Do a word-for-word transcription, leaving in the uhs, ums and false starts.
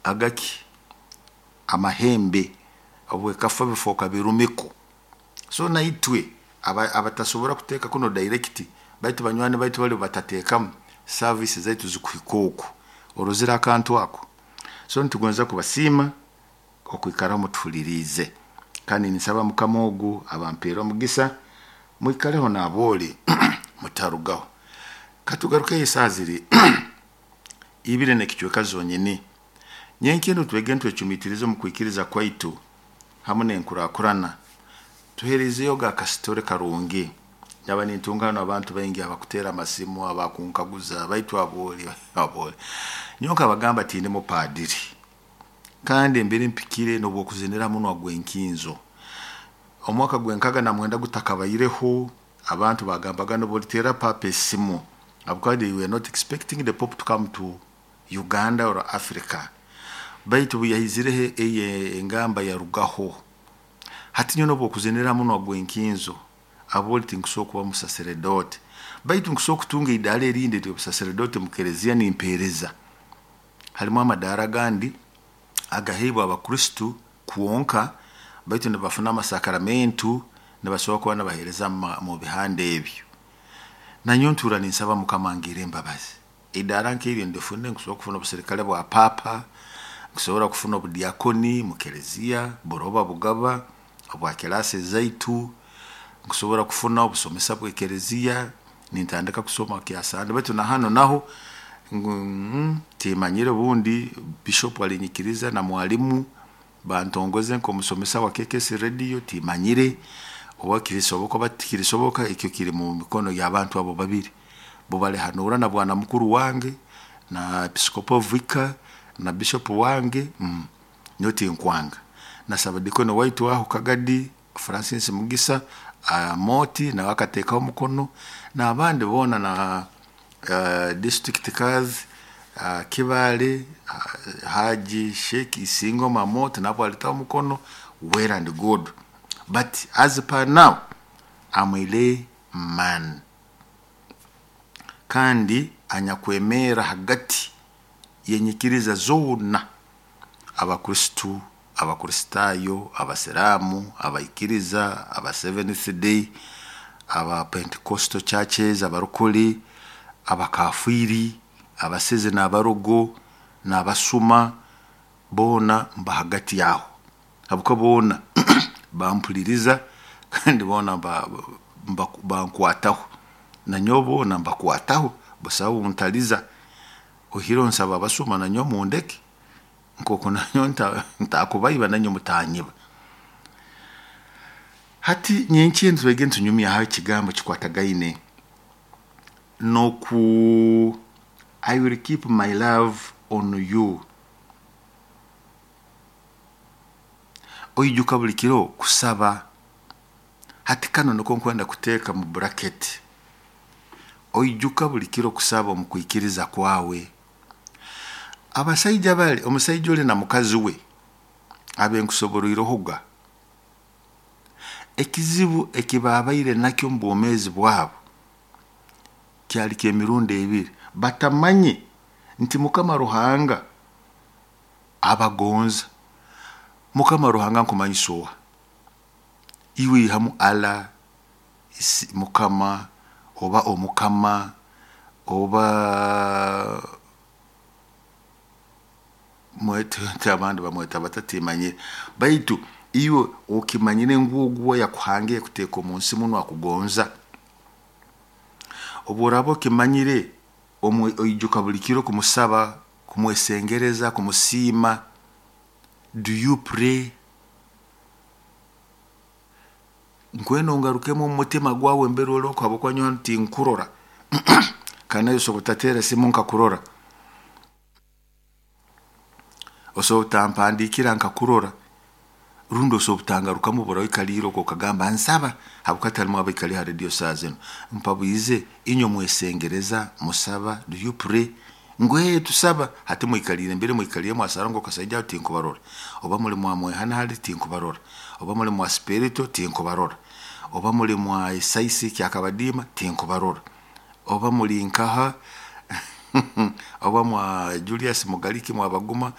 Agaki amahembe obwekafa bifooka birumiko. So naitwe abatasobora kuteeka kuno direct, baitu banywani baitu bali batateekamu, service zaitu zikuhika oku. Orozire akantu ako? So nitugonza kubasiima okwikara mutuhuliriize, kandi ninsaba Mukama ogu abampeere omugisa, mwikaleho n'abooli, mutarugaho. Katugarukeyo, esaaha ziri ibiri n'ekicweka zonyini. Nyenkya twege ntwecumiitirize omu kwikiriza kwaitu hamu n'enkurakurana. Tuheerizeyo akasitore karungi. Nyaba nintunga hanu abantu baingi abakuteera amasimu, abakunkaguza, baitu abooli abooli. Nyowe nkabagamba, tindi mupaadiri, kandi mbere mpikire n'obwokuzinira munwa gw'enkinzo. Omwaka gw'enkaga na mwenda gutakabaireho, abantu bagambaga nobuliteera Papa esimu, habwokuba they were not expecting the Pope to come to Uganda or Africa. Baitu obu yaizireho, eyo engamba yarugaho. Hati nyowe n'obwokuzinira munwa gw'enkinzo, abooli, tinkusobora kuba musaseredote, baitu nkusobora kutunga idaara erindi ery'obusaseredote mu kereziya nimpeereza. Harimu amadaara agandi agaheebwa Abakristu kwonka, baitu nibafuna amasakramentu, nibasobora kuba nibaheereza mu bihanda ebyo. Nanyowe ntuura ninsaba Mukama angirre embabazi, idaara nk'eryo ndifune. Nkusobora kufuna obuserikale bwa Papa, nkusobora kufuna obudiakoni mu kereziya buroba bugaba obwa kirasi zaitu, nkusobora kufuna obusomesa bw'ekereziya nintandika kusoma kyasande. Baitu na hanu naho ngu timanyire, obundi bishop alinyikiriza na mwalimu bantongoze nk'omusomesa wa K K S Radio. Timanyire oba kirisoboka oba tikirisoboka. Ekyo kiri mu mikono y'abantu abo babiri, bo balihanura na bwana mukuru wange na episcopal vicar na bishop wange. mm. nyowe tinkwanga nasaba dikoni waitu aho Kagadi, Francis Mugisa uh, Moti, nawe akateekaho omukono n'abandi boona na uh, district kazi uh, Kibale, uh, Haji Sheikh Isingo Mamoti, nabo alitaho omukono. Well and good, but as per now I'm a lay man, kandi anyakwemera hagati yenyikiriza zoona, Abakristu, Abakristaayo, Abasiraamu, abaikiriza aba Seventh Day, aba Pentecostal churches, abarokole, abakafiiri, abasezi n'abarogo n'abasuma, boona mba hagati yaho, habwokuba boona bampuliriza kandi boona bankwataho, nanyowe boona mbakwataho. Busaho ntaliza oihireho nsaba abasuma nanyowe mundeke, nkoku nanyowe ntakubaiba, nanywe mutanyiba. Hati nyenkya twege nitunyumyaho ekigambo kikwatagaine noku "I will keep my love on you". Oijuka buli kiro kusaba. Hati kanu niko nkwenda kuteeka mu bracket: oijuka buli kiro kusaba omu kwikiriza kwawe. Abasaija bali, omusaija oli na mukazi we abenkusoboroirehoga, ekizibu ekibabaire nakyo omu bwomeezi bwabo kyali ky'emirundi ebiri: batamanye nti Mukama Ruhanga abagonza. Mukama Ruhanga nkumanyisa oha? Iwe ihamu Allah, Mukama oba omukama oba mwete, abandi bamweta batatimanyire, baitu iwe okimanyire ngu ogu yakuhangire kuteeka omu nsi muno akugonza. Obu oraaba okimanyire, oijuka buli kiro kumusaba, kumwesengereza, kumusiima. Do you pray? Nkwenda ongarukemu omu mutima gwawe mbere oli oku, habwokuba nyowe hanu tinkurora, kandi nawe osobola otateera simu nkakurora, osobola otampandiikira nkakurora, rundi osobola otangarukamu bura oikaliire okwo okagamba nsaba, habwokuba talimu abaikali ha radio saa zinu. Mpabwize, inywe mwesengereza, musaba? Do you pray? Ngu ee, tusaba. Hati mwikaliire mbere mwikaliire mwasara ngu kasaija aho tinkubarora, oba muli mwamwehana hali tinkubarora, oba muli mwa spirito tinkubarora, oba muli mwa esaisi kyakabadiima tinkubarora, oba muli nkaha, oba mwa Julius Mugaliki mwabaguma.